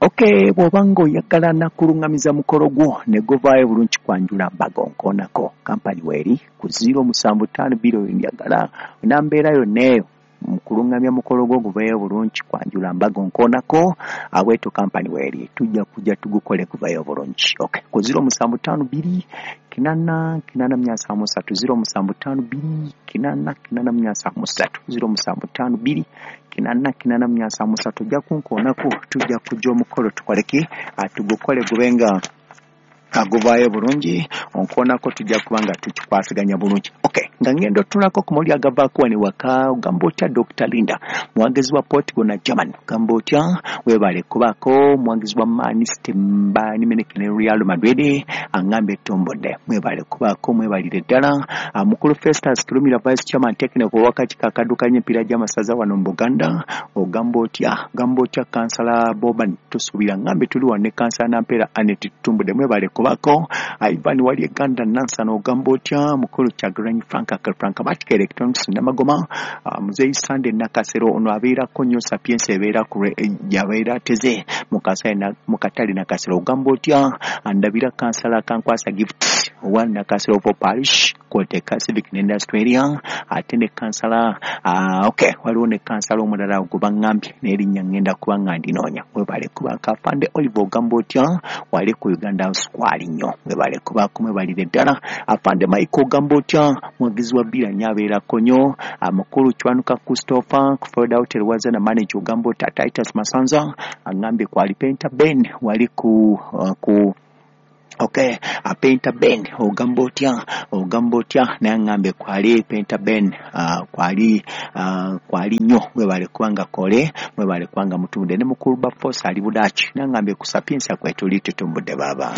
Okay, bw'oba ng'oyagala nakulungamiza mukolo gwo ne guvaayo bulungi kwanjula mbaga, onkoonako. Kampani weeri ku 0752 njagala nambeera yonna eyo mukulungamya mukolo gwo guveeyo bulungi kwanjula mbaga, onkoonako. Abweto kampani weeri, tujja kujja tugukole guveeyo bulungi. Okay, ku 0752 8 873, 0752 8 873, 0752 8 873. Ojja kunkoonako, tujja kujja omukolo tukoleki, tugukole gubenga aguvaayo bulungi. Onkoonako, tujja kuba nga tukikwasaganya bulungi. Okay, nga ngenda otunulako ku mawulire agavaako wano ewaka. Ogamba otya Dr Linda, muwagizi wa Portugal na Germany? Ogamba otya? Webale kubaako. Muwagizi wa Man City, Bayern Munich ne Real Madrid, aŋŋambye tumbudde. Mwebale kubaako, mwebalire ddala. Mukulu Festus Kirumira, vice chairman technical ow'akakiiko akaddukanya emipiira gy'amasaza wano mu Buganda, ogamba otya? Ogamba otya kansala Boban Tusuubira? Ŋŋambye tuli wano ne kansala Nampeera Anet, tutumbudde, mwebale kubaako. Ivan wali Eganda Nansana, ogamba otya? Mukulu Kyagulanyi Frank Frank Matic Electronics Namagoma, Muzeyi Sande Nakasero, ono abeerako nnyo Sapiensia, ebeera yabeera ateze mu katale Nakasero, ogamba otya? Ndabira kansala Kankwasa Gift owa Nakasero of Parish kwoteka civic ne industry area, ate ne kansala okay, waliwo ne kansala omulala gwe baŋŋambye n'erinnya ŋŋenda kuba nga ndinoonya. Webale kubaako. Afande Oliver, ogamba otya? Wali ku Uganda House kwali nnyo, webale kubaako, mwebalire ddala. Afande Mike, ogamba otya? Mwagizi wa bbira nnyo, abeerako nnyo. Mukulu Kiwanuka Christopher ku Florida Hotel Wazana manager, ogamba otya? Titus Masanza aŋŋambye kwali. Penta Ben wali ku okay, Penta Ben, ogamba otya? Ogamba otya? Naye aŋŋambye kwali Penta Ben, kwali, kwali nnyo. Mwebale kubanga kole, mwebale kubanga mutumbudde. Ne mukulu Bafosa ali Budaaki, naye aŋŋambye ku Sapiensia kwetuli, tutumbudde baaba.